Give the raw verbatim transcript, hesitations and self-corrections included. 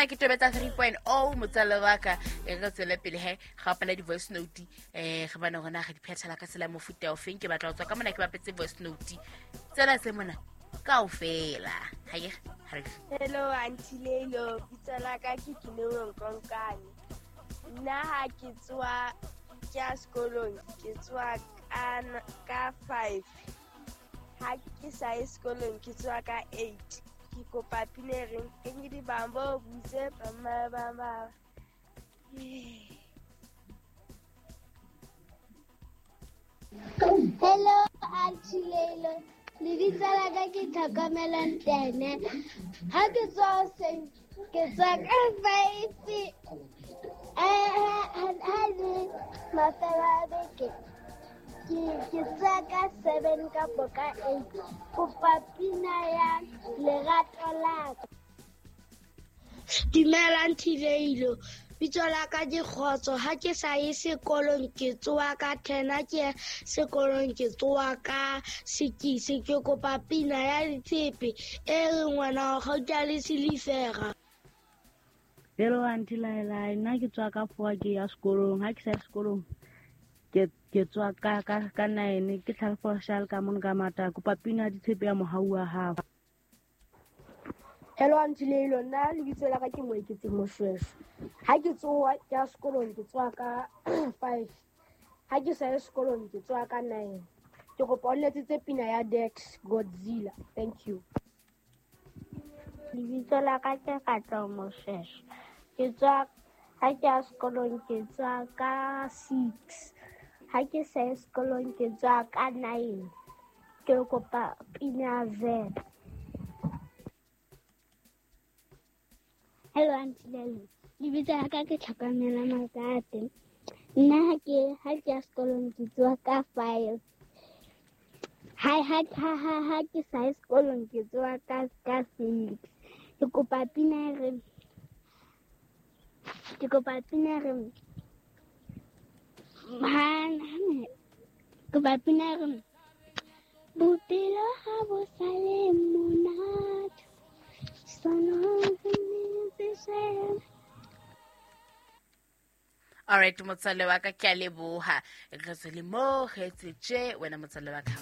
mona ke tobetsa three point oh motswalle wa ka. E re tswele pele he ga opela di-voice note, eh re bone hore na re di phethela ka tsela mofuta o feng. Ke batla ho tswa ka mona ke bapetse voice note tsena tse mona kaofela. Ha ye ha re. Hello Auntie Leilo, bitso la ka ke Kineo Nkonkane. Nna ha ke tswa ke ya sekolong, ke tswa ka ka five. Ha ke sa ye sekolong ke tswa ka eight. Ke kopa pina e reng ke di bambo butse ba ba ba. Hello Auntie Leilo, lebitso la ka ke Tlhokomelo Ntene. Ha ke tswa hoseng ke tswa ka five. Eh ha le mafelo a beke ke ke tswa ka seven kapo ka eight. Kopa pina ya lerato la ka. Dumela Auntie Leilo, bitso la ka ke Kgotso. Ha ke sa ye sekolong ke tsoha ka ten, ha ke ya sekolong ke tsoha ka six. Ke kopa pina ya ditshepe e reng ngwana wa kgauta le silifera. Hello Auntie Laila, nna ke tswa ka four ke ya sekolong. Ha ke sa ye sekolong ke ke tswa ka ka ka nine, ke tlhalefo shal ka mona ka mata. Kopa pina ya ditshepe ya mohau wa hao. Hello Auntie Leilo, nna lebitso la ka ke Moeketsi Moshweshwe. Ha ke tsoha ke ya sekolong ke tsoha ka five. Ha ke sa ye sekolong ke tsoha ka nine. Ke kopa o nletsetse pina ya Dex Godzilla. Thank you. Lebitso la ka ke Katleho Moshweshwe. Ke tswa ha ke ya sekolong ke tswa ka six. Ha ke sa ye sekolong ke tswa ka nine. Ke kopa pina ya Z. Hello Auntie Leilo, lebitso la ka ke Tlhokomelo Makate. Nna ha ke ha ke ya sekolong ke tsoha ka five. Ha ha ha ha ha ke sa ye sekolong ke tsoha ka ka six. Ke kopa pina e reng ke kopa pina e reng ha kopa pina e reng bophelo ha bo sa le monate. All right, motswalle wa ka ke a leboha. Re tswele mo, re etse tje, wena motswalle wa ka.